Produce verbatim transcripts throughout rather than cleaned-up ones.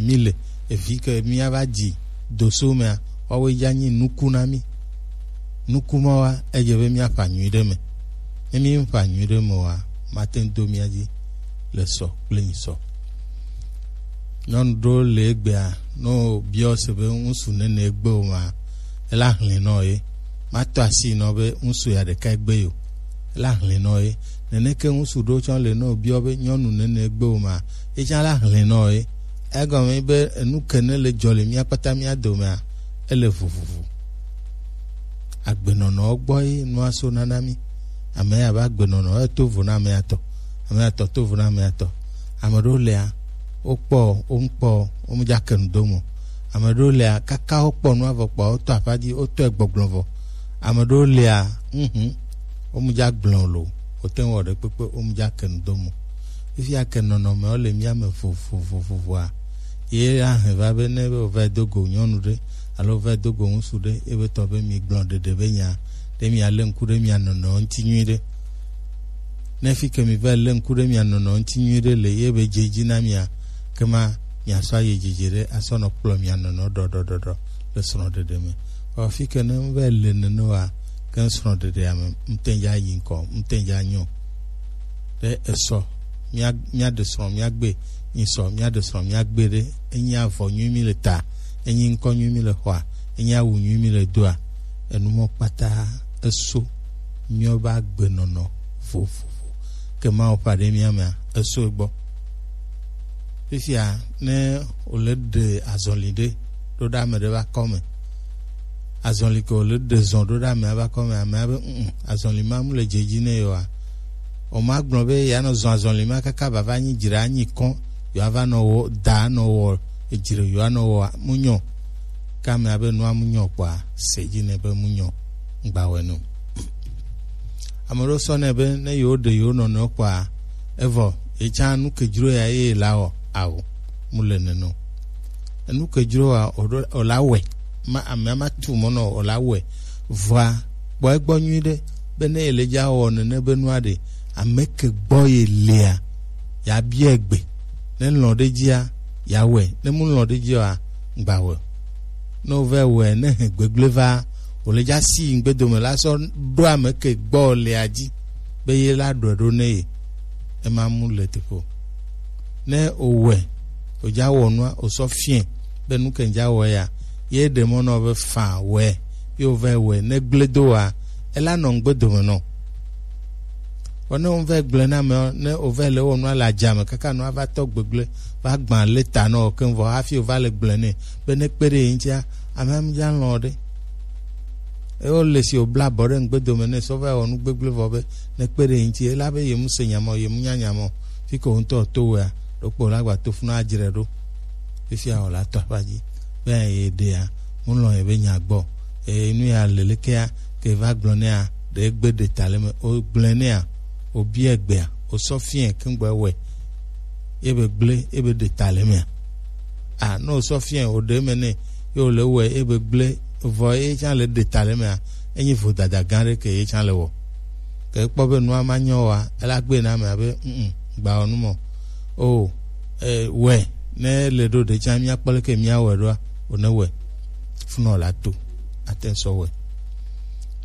mi le evi ke mi ava dzi doso mea, woawoe dza nyi nuku na mi. Nuku ma wa edze be míaƒã nyui ɖe me. Ne míƒã nyui ɖe me oa, mate ŋu do mía dzi le sɔ kple nyisɔ. Nyɔnu ɖewo le egbea, ne wobiɔ se be ŋutsu nene egbe o ma, ela hlẽ nɔ ye. Matɔ asi nɔ be ŋutsu ya ɖeka egbe yo. Ela hlẽ nɔ ye. Neneke ŋutsu ɖewo tsã le, ne wobiɔ be nyɔnu nene egbe o ma, ye tsã la hlẽ nɔ ye. Egɔme be enu ke ne le dzɔ le mía kpata mía domea, ele vovovo. Agbenɔnɔwo gbɔ ye nua so nana mí. Ame ya be agbenɔnɔ eto vo na ame ya tɔ, ame ya tɔ to vo na ame ya tɔ. Ame ɖewo lea, wokpɔ, wo ŋkpɔ, wo mu dza ke nu do mo. Ame ɖewo lea, kaka wokpɔ nua vɔ kpɔ, wotɔ aƒa dzi, wotɔe gbɔgblɔ vɔ. Ame ɖewo lea, mhm, wo mu dza gblɔ lo, wote ŋu wɔ ɖe kpekpe, wo mu dza ke nu do mo. Fifia ke nɔnɔmewo le mía me vovovovovoa, ye ahɛn va be ne be wòva do go nyɔnu ɖe alo wòva do go ŋutsu ɖe, ebe tɔ be mi gblɔ ɖeɖe be nya ɖe, mia lé ŋku ɖe mia nɔnɔ ŋuti nyui ɖe. Ne fi ke mi va lé ŋku ɖe mia nɔnɔ ŋuti nyui ɖe le ye be dze dzi na mia, ke ma miasɔ ayi dzidzi ɖe asɔ nɔ kplɔ mia nɔnɔ ɖɔɖɔɖɔɖɔ le srɔ̃ɖeɖe me. Vɔ fi ke ne ŋu va le nene wa, ke srɔ̃ɖeɖea me ŋutɛ dza yi ŋkɔ, ŋutɛ dza nyɔ. Ɖe esɔ mía mía ɖe srɔ̃ mía gbe, nyi sɔ mía ɖe srɔ̃ mía gbe ɖe, enyi avɔ nyui mi le ta, enyi ŋkɔ nyui mi le xɔa, enyi awu nyui mi le doa, enu mɔ kpata eso míawo be agbenɔnɔ vovovo ke Mawu ƒe aɖe mía mea, eso egbɔ. Fifia ne wòle ɖe azɔli ɖe ɖo ɖe ame ɖe ƒe akɔme, azɔli ke wòle ɖe zɔ ɖo ɖe amea ƒe akɔme, amea be mm, azɔli ma mu le dze dzi ne yewoa, wòmagblɔ be yeanɔ zɔ azɔli ma kaka bava nyi dzra anyi kɔ, yewoava nɔ wɔ da nɔ wɔ edzre yewoanɔ wɔa, mu nyɔ. Ke amea be nua mu nyɔ kpɔa, se dzi nɛ be mu nyɔ, ŋgba wɔe nɛ o. Ame ɖewo sɔ nɛ be ne yewo ɖe yewo nɔnɔewo kpɔa, evɔ yetsã nu ke dzro ya ye la wɔ, ao, mu le nene o. Enu ke dzro wa o ɖo o la wɔe. Ma amea ma tu mɔ nɔ o la wɔe. Vɔa kpɔ egbɔ nyui ɖe be ne ele dza wɔ nene be nua ɖe, ame ke gbɔ ye lea, ya bia egbe. Ne lɔ̃ ɖe dzia, ya wɔe. Ne mu lɔ̃ ɖe dzia, ŋgba wɔe. Ne wòva wɔe, ne hɛn gbegblẽ va, wòle dza si ŋgbe dome la sɔ ɖo ame ke gbɔ lea dzi be ye la ɖɔe ɖo ne ye. Ema mu le teƒe o. Ne òwɔe, òdza wɔ nua, òsɔ fiɛ be nu ke ŋdza wɔ ya, ye ɖe mɔ nɔ be fã wɔe, ye wòva wɔe, ne gblẽ do wa, ela nɔ ŋgbe dome nɔ. Vɔ ne wòva gblẽ na ame ne wòva le wɔ nua le adzame kaka nua va tɔ gbegblẽ, va gbã le ta nɔ keŋ vɔ hafi wòva le gblẽ nɛ be ne kpe ɖe ye ŋutia, amea ŋdza lɔ̃ ɖe. Eye wole si wòbla abɔ ɖe ŋgbe dome nɛ sɔ va wɔ nu gbegblẽ vɔ be ne kpe ɖe ye ŋuti, ela be ye mu se nya mɔ, ye mu nya nya mɔ. Fi ke wò ŋutɔ to wea, ɖokpo la gba to funu adzre ɖo. Fifia wòle ato aƒa dzi. Be ye ɖea, mu lɔ̃ ye be nya gbɔ. Eye nu ya le lekea, ke va gblɔ nɛa, ɖe egbe ɖe ta le me. O gblẽ nɛa, o bia egbea, o sɔ fiɛ keŋ gbɔ ewɔe. Ye be gblẽ, ye be ɖe ta le mea. A, ne wòsɔ fiɛ wòɖe eme nɛ, ye wòle wɔe, ye be gblẽ, vɔ ye tsã le ɖe ta le emea, enyi vodada gã ɖe ke ye tsã le wɔ. Ke ekpɔ be nua ma nyɔ oa, ela gbe na amea be, mm, gba wɔ nu mɔ. O, e, wɔe, ne le ɖo ɖe tsã, míakpɔ leke míawɔe ɖoa, wòne wɔe. Funɔ la to, ate ŋu sɔ wɔe.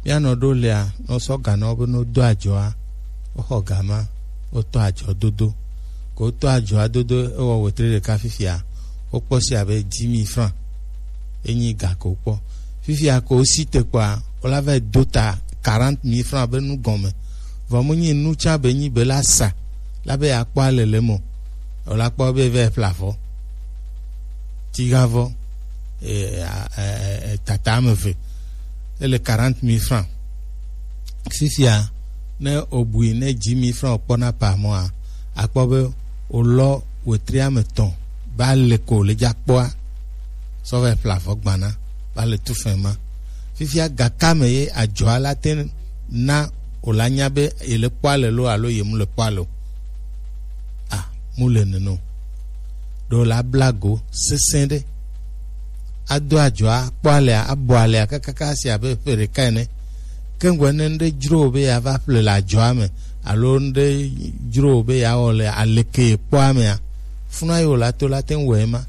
Míanɔ ɖo lea, ne wosɔ ga na wo be ne wodo adzɔa, woxɔ ga ma, wotɔ adzɔ dodo. Ko wotɔ adzɔa dodo, ewɔ wetri ɖeka fifia, wokpɔ si abe dix mille francs. Enyi ga ko wokpɔ. Fifia ko wosi te kpɔa, wola va yi do ta quarante mille francs be nu gɔme. Vɔ mu nyi nu tsã be nyi be la sa, la be yeakpɔ alele me o. Wola kpɔ be va yi ƒle avɔ. Tigavɔ, e, a, e, e, e, tata ame eve. Ele quarante mille francs. Fifia, ne wòbui, ne dix mille francs wòkpɔ na par mois, akpɔ be wòlɔ wetri ame etɔ̃, ba le ko le dza kpɔa, sɔ va yi ƒle avɔ gbana, ba le tu fɛn ma. Fifia, gakame ye adzɔa la te na wòla nya be yele kpɔa le lo alo ye mu le kpɔa le o. A, mu le nene o. Ɖo la bla go sesẽ ɖe. Ado adzɔa, akpɔ alea, abɔ alea kakaka si abe ƒe ɖeka ene. Ke ŋgɔe ne ŋɖe dzro wò be yeava ƒle le adzɔa me, alo ŋɖe dzro wò be yeawɔ le aleke ye kpɔa mea, funa ye wòla to la te ŋu wɔ ema.